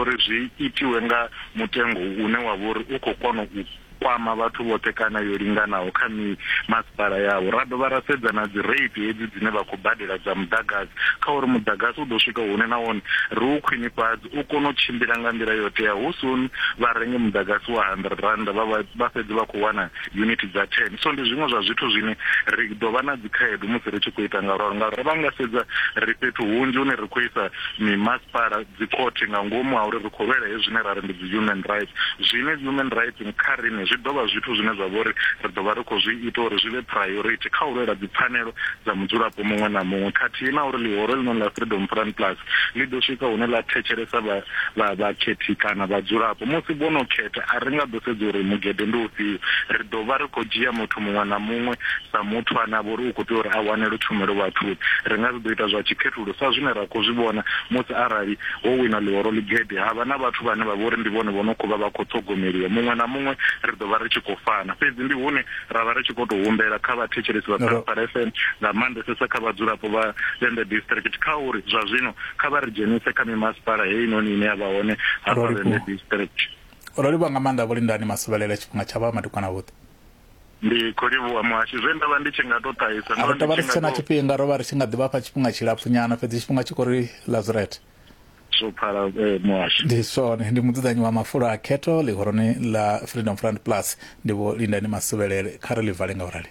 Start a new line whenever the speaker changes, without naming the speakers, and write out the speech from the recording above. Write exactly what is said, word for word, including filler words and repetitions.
uri zwi itiwe nga mutengo une wa vha uri u khou kona u kwama vhathu vhoṱhe kana yo linganaho kha mimasipala yavho. Ra dovha ra sedza na dzi rate hedzi dzine vha khou badela dza muḓagasi, kha uri muḓagasi u ḓo swika hune na wone ri u khwinifhadze u kone u tshimbila nga nḓila yo teaho, hu si vha renge muḓagasi wa hundred rand vha vha fhedze vha khou wana unit dza ten. So ndi zwiṅwe zwa zwithu zwine ri ḓo vha na dzi khaedu musi ri tshi khou ita nga ralo, ngauri vha nga sedza ri fhethu hunzhi hune ri khou isa mimasipala dzi khothe nga ngomu ha uri ri khou lwela hezwi zwine ra ri ndi dzi human rights, zwine human rights kha riṋe zwi ḓo vha zwithu zwine zwa vha uri ri ḓo vha ri khou zwi ita uri zwi vhe priority kha u lwela dzipfanelo dza mudzulapo muṅwe na muṅwe, khathihi na uri ḽihoro ḽino ḽa Freedom Front Plus ḽi ḓo swika hune ḽa thetshelesa vha vha vhakhethi kana vhadzulapo. Musi vho no khetha a ri nga ḓo sedza uri mugede ndi ufhio, ri ḓo vha ri khou dzhia muthu muṅwe na muṅwe sa muthu ane a vha uri u khou tea uri a wanele tshumelo vhathuni. Ri nga si ḓo ita zwa tshikhethululo sa zwine ra khou zwi vhona musi arali ho wina ḽihoro ḽigede ha vha na vhathu vhane vha vha uri ndi vhone vho no khou vha vha khou ṱhogomeliwa, muṅwe na muṅwe ri ḓo vha ri tshi khou fana. Fhedzi ndi hune ra vha ri tshi khou tou humbela kha vhathetshelesi vha Phalaphala F M, nga maanḓesesa kha vhadzulapo vha Vhembe district, kha uri zwa zwino kha vha ri dzhenise kha mimasipala heinoni ine ya vha hone hafha Vhembe district.
Ro livhuwa nga maanḓa Vho Lindani Masuvhelele, tshifhinga tsha vha madekwana avhuḓi.
Ndi khou livhuwa muhashi, zwe nda vha ndi tshi nga to ṱahisa
ndo vha ndi tshi nga to tshifhinga ro vha ri tshi nga ḓivha fha tshifhinga tshilapfu nyana, fhedzi tshifhinga tshi khou ri Lazareth
zwo phala muhashi.
Ndi zwone, ndi mudzudzanyi wa mafulo a khetho ḽihoroni ḽa Freedom Front Plus, ndi Vho Lindani Masuvhelele. Kha ri ḽi vale nga u rali.